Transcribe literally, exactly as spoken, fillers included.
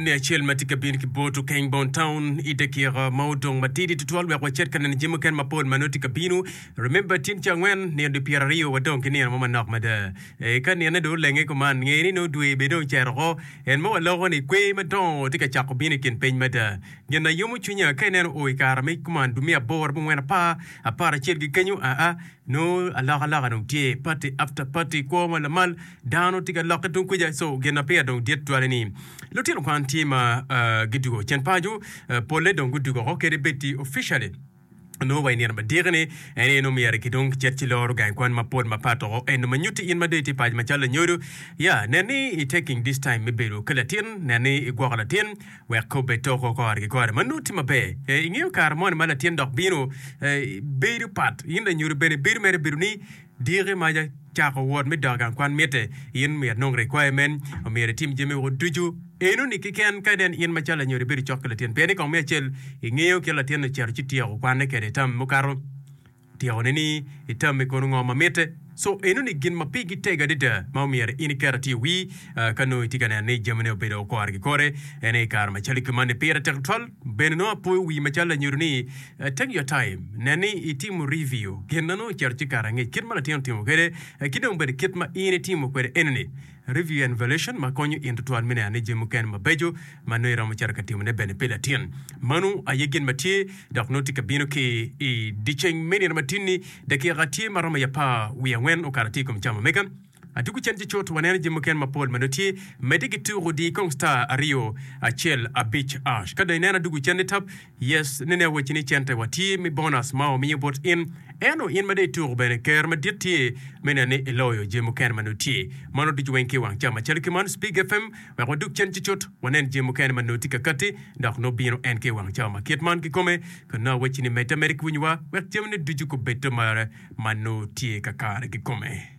Eni acel ma tye ka bino ki bot Okeng Bon Town i dakika ma odong matidi tutwal wek wacit ka neno jami mukene mapol ma nongo tye ka bino. Remember tin ca angwen nino dwe pyera aryo wadong ki nino mo manok mada. E, ka nine dong olenge kuman nge ni nongo dwe bene dong ocito oko. En ma waloko ni kwer madongo tye ka cako bino i kin piny mada. Gin na yomo cwinya ka ineno o i kare me kuman dwe me aboro abongwen apar apar acel ki kenyo aa nongo alokaloka dong tye party after party kwo ma lamal dano tye ka lokke tung kuca so gin ma peya dong dit tutwale ni lutino kwan tye ma uh, gidwogo cen paco uh, polle dong gudwogo oko kadi bed ti officially nongo wa i nino madiki ni en aye nongo myero ki dong kicit ci loro gang kwan mapol mapat oko eno ma nyutti in ma dong itye paco macalo lanyodo ya nen ni i taking this time me bedo ki latin nen ni igwoko latin wek ka obed toko kore ki kore ma nongo tye maber. Eh, ingeyo kare moni ma latin dok bino eh, bedo pat in lanyodo bene bedo mere bedo ni diki maca cako wot me dok i gang kwan mitte in myero inong requirement myero itim jami woko ducu enoni keken ka inen in macalo lanyodo ibedo cok ki latin pien ni kong me acel ingeyo kit latin ocito ci tyeko kwanne kwede tam mukato tyekone ni itamme kono ngo ma mitte. So enoni gin ma pigi tego adada ma omyero in iket atir i wii uh, ka nongo itye ka neno ni jamine obedo kore ki kore. En aye kare macalo ki man ni pire tek tutwal. Bene nongo apoyo wii macalo lanyodo ni uh, take your time nen ni itimo review gin ma nongo ocito ci kare angec kit ma latin otimo kwede uh, ki dong bene kit ma in itimo kwede enoni review and evaluation ma konyo in tutwal me neno ni jami mukene mabeco ma nongo iromo cito ka timone bene pi latin. Mano aye gin ma tye dok nongo tye ka bino ki i dyeceng me nino matin-ni dakika tye ma romo i apar wiye angwen okato tye i kom cam omega. Atuku cen ci cut waneno jami mukene mapol ma nongo tye medde ki tuko di kong star aryo acel abic ash. Ka dong ineno adugu cen ni tap yes nene awacci ni cente wa tye me bonus ma wamiyo bot in ento in ma dong ituko bene ker madit tye me neno ni iloyo jami mukene ma nongo tye. Mano ducu weng ki i wang cam macalo ki man Spig FM wek wadug cen ci cut wanen jami mukene ma nongo tye ka katti dok nongo bino en ki i wang cawa ma kit man kikome ka nongo awacci ni medde ameda ki winyowa wek jamine ducu gubed mare ma nongo tye kakare kikome.